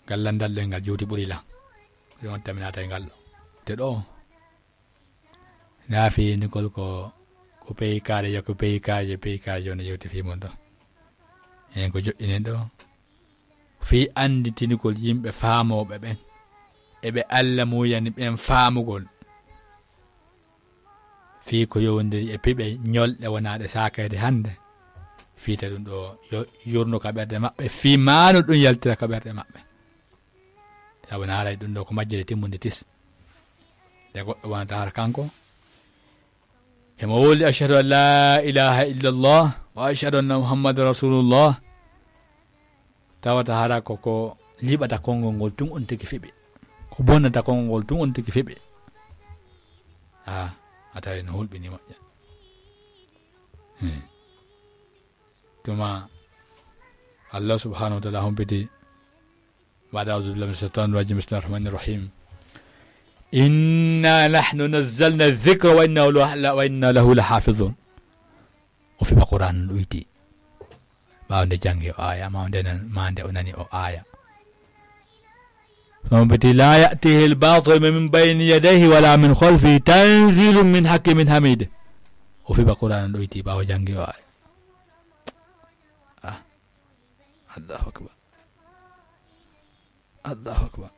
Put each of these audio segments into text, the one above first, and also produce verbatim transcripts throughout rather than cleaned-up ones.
Ngal lanndal ɗo e ngal juuti ɓuri lan. Ɗum on taminata e ngal ɗo. Te ɗo, naafiyindigol ko, ko peyi kaare yo, ko peyi kaare yo, peyi kaare yo, no yewti fii mon ɗo. Heen ko joƴƴinen ɗo. Fii annditinigol yimɓe faamooɓe ɓen. E ɓe Alla muuyani ɓen faamugol. Fii ko yowondiri e piɓe ñolɗe wonaaɗe saakeede hannde. Fii te ɗum ɗo yo yurno ka ɓerɗe maɓɓe. Fii maanu ɗum yaltira ka ɓerɗe maɓɓe. Sabu na haray ɗum ɗo ko majjere timmunde tis. Nde goɗɗo wonata hara kanko. Himo wowli, "Ashhadu an la ilaha illallah, wa ashhadu anna Muhammadan rasulullah." Tawata hara ko, ko liɓata konngol ngol tun on tigi fiɓi. Ko bonnata konngol ngol tun on tigi fiɓi. Ah, a tawi no hulɓini moƴƴa. Hmm. Tuma Allah subhanahu wa ta'ala humpiti بعد أعوذ بالله من الشيطان الرجيم. بسم الله الرحمن الرحيم. إنا نحن نزلنا الذكر وإنا له، وإنا له لحافظون. O fiɓa Qur'an ɗuyti. Ɓaawo nde janngi o aya, ma nde nan-, ma nde o nani o aya. Humpiti, لا يأتيه الباطل من بين يديه ولا من خلفه تنزيل من حكيم حميد. O fiɓa Qur'an ɗuyti ɓaawo janngi o aya. Ah. Allahu akbar. Allahu akbar.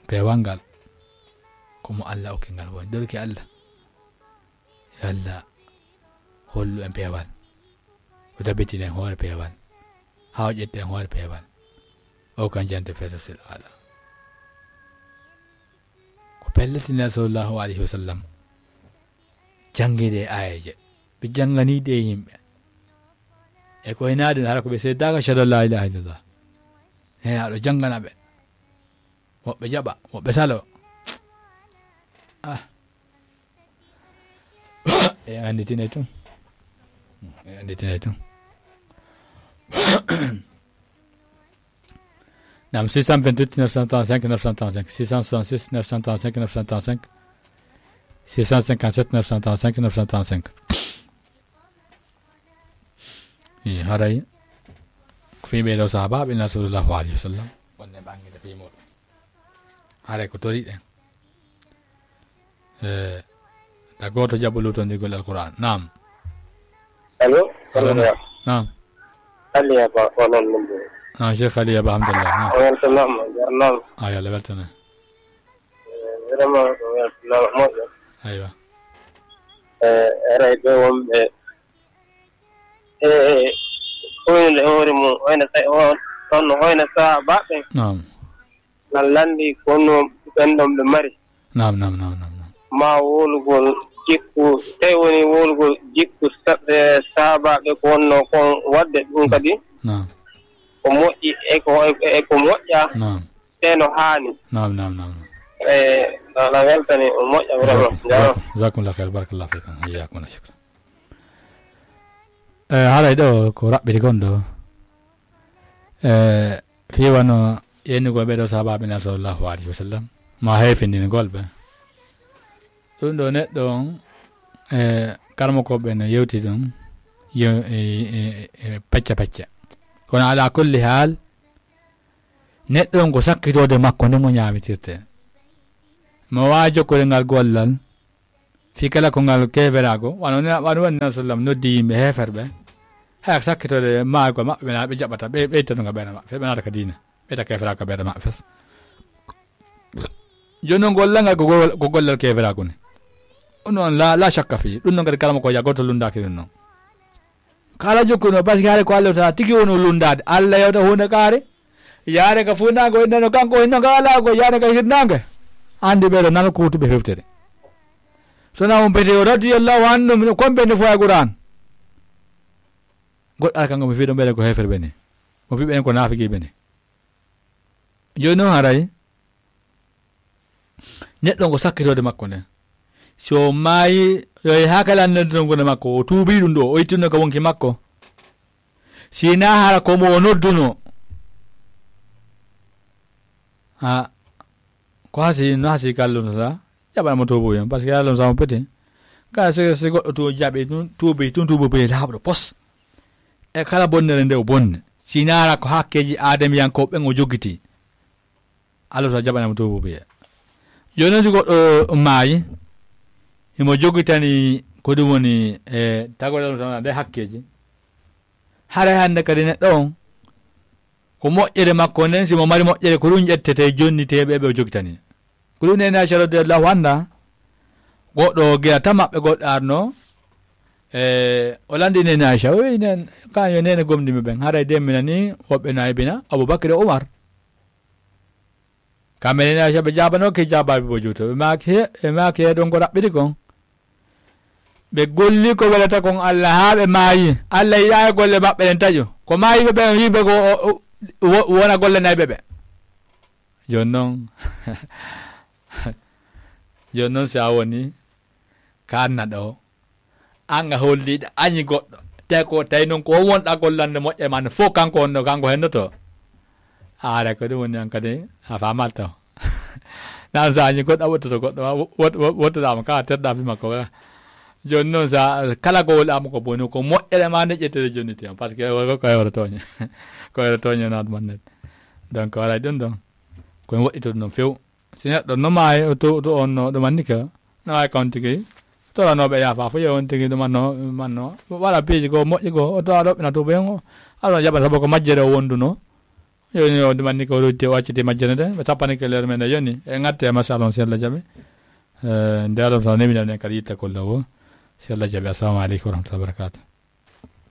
Peewal ngal ko mo Allah okki ngal woni. Ɗorki Allah. Yo Allah hollu en peewal. O tabitin en hoore peewal. Haa o ƴetta en hoore peewal. O kan jante fesa sil ala. Ko pelletinen sallallahu alayhi wa sallam. Janngiiɗe e aayeeje. Ɓe jannganiiɗe e yimɓe. E ko hinaa ɗum, hara ko ɓe seeddaaka, "Ashhadu an laa ilaaha illallah." He, aɗo janngana ɓe. Woɓɓe jaɓa, woɓɓe salo. Ah. E annditine tun. E annditine tun. Nam, six cent vingt-huit, neuf cent trente-cinq, neuf cent trente-cinq, six cent soixante-six, neuf cent trente-cinq, neuf cent trente-cinq, six cent cinquante-sept, neuf cent trente-cinq, neuf cent trente-cinq. Ii, haray ko fii ɓee ɗoo sahaabaaɓe Nulaaɗo sallallahu alayhi wa sallam, wonde ɓe anndita fii muuɗum. Haray ko toriɗen. Eh, da gooto jaɓo luutondirgol Alqur'aan. Naam. Allo? Allo, naam. Naam. Aliya Ba, ko non ɗum ɗo. Naam, Cheikh Aliya Ba, alhamdulillah. Naam. O weltanaama, jarnaama. Ah, yo Allah weltane. Eh, vraiment, o weltanaama moƴƴo. Aywa. Eh, haray ɓe wonɓe, eh, hoynde hoore mum, hoyna sa-, o-, on no hoyna sahaabaaɓe. Naam. Na lanndi ko honno ɓen ɗon ɓe mari. Naam, naam, naam, naam, naam. Ma wowlugol jikku, tawi woni wowlugol jikku sa-, e sahaabaaɓe ko wonno kon waɗde ɗum kadi. Naam. Ko moƴƴi e ko, e ko moƴƴa. Naam. Tee no haani. Naam, naam, naam, naam. E, no, no weltani, o moƴƴa vraiment. Jazakum-, jazakumullahu khair, barakallahu fikum. Iyyakum wa shukran. Eh, haray ɗo ko raɓɓiti kon ɗo. Eh, fii wano yennugol ɓee ɗoo sahaabaaɓe Nulaaɗo sallallahu alayhi wa sallam, ma heefindinigol ɓe. Ɗum ɗo neɗɗo on, eh, karamokooɓe no yewti ɗum, yew-, e, e, e, pecca pecca. Kono ala kulli haal, neɗɗo on ko sakkitoode makko nden o ñaamitirte. Mo waawi jokkude ngal gollal, fii kala ko ngal keeferaago, wano ne, wano woni Nulaaɗo sallam noddi yimɓe heeferɓe, haya ko sakkitoode maayugol maɓɓe, ɓe na-, ɓe jaɓata, ɓe, ɓe ittata ngal ɓernde maɓɓe, ɓe naata ka diina, ɓe itta keeferaago ka ɓernde maɓɓe fes. Jooni noon, gollal ngal ko gol-, ko gollal keeferaago ni. Ɗum noon, la, la shakka fii. Ɗum noon kadi, karamokoojo gooto lunndaaki ɗum noon. Kala jokkuno, parce que haray ko Allah taala tigi woni o lunndaade. Allah yewta huunde kaari, yaade ka fuunaange, o innano kanko, o inno ka alaa ko, yaade ka hirnaange. Anndi ɓee ɗoo nana ko wuttuɓe fewtere. So na on bete o radiyallahu anhu, mino kon ɓe nde fof e Qur'an. Goɗɗo ara kanko, mi fii ɗon ɓe ko heeferɓe ni. Mo fii ɓen ko naafiqiiɓe ni. Jooni noon haray, neɗɗo ngo sakkitoode makko nden. Si o maayi, yo e haa kala nodduno ngonde makko, o tuubii ɗum ɗo, o ittuno ka wonki makko. Si naa hara ko mo o nodduno. Ha, ko hasi, no hasi kallon sa, jaɓana mo tuubu yon, parce que Allah sa mo pete. Kala si, si goɗɗo tu jaɓi tun, tuubi tun, tuubu be laaɓɗo pos. E kala bonnere nde o bonni. Si naa hara ko hakkeeji aadamiyankooɓe ɓen o jogiti. Allah sa jaɓanamo tuubu biye. Jooni noon si goɗɗo maayi, himo jogitani ko ɗum woni e tagore Allah sa nde hakkeeji. Haray hannde kadi neɗɗo on, ko moƴƴere makko nden, si mo mari moƴƴere, ko ɗum ƴettete jonniteeɓe ɓe o jogitani. Ko ɗum nene Aisha radiyallahu anha, goɗɗo gila ta maɓɓe goɗɗo arno, e o landi nene Aisha, o wi nen, kan yo nene gomɗinɓe ɓen, haray demmina ni, woɓɓe naybina, Abubakar e Umar. Kamɓe nene Aisha ɓe jaabanoke jaabaabi bo juuto, ɓe maaki he, ɓe maaki he ɗon ko raɓɓiɗi kon. Ɓe golli ko welata kon Allah haa ɓe maayi. Allah yiɗaa e golle maɓɓe ɗen taƴo. Ko maayiɓe ɓen yiɓe ko o, o, wo-, wona gollanayɓe ɓe. Jooni noon, jooni noon si a woni kaanna ɗo, an a holliiɗo añi goɗɗo. Tawi ko, tawi noon ko on wonɗa gollande moƴƴere ma nde fof kanko on ɗo, kanko hennoto. Haare ko ɗum woni an kadi a faamal taw. Nan sa añi goɗɗo a wottoto goɗɗo ma, wot-, wot-, wottoɗa mo ka terɗa fi makko ka. Jooni noon sa kala ko woli ama ko boni ko moƴƴere ma nde ƴettede jonniti on. Parce que ko, ko, ko hewre tooñe. Ko hewre tooñe naat man net. Donc waɗay ɗum ɗon. Ko en woɗɗitoto noon few. Si neɗɗo no maayi, o to, to on no ɗum anndi ka, no waawi kawon tigi. Toranooɓe yaafa fof, yo on tigi ɗum anno, ɗum anno. Waɗa piiji ko moƴƴi ko, o towa ɗoɓɓina tuuba hen o. Aɗa jaɓa sabu ko majjere o wonduno. Yo ni o ɗum anndi ko rutti o acciti majjere nde. Ɓe tappani ke leer men nde yoni. E ngatte e machallah on si Allah jaɓi. Eh, nde Allah sa newina ɗen kadi yitte kolla wo. Si Allah jaɓi. Assalamu aleykum wa rahmatullahi wa barakatuh.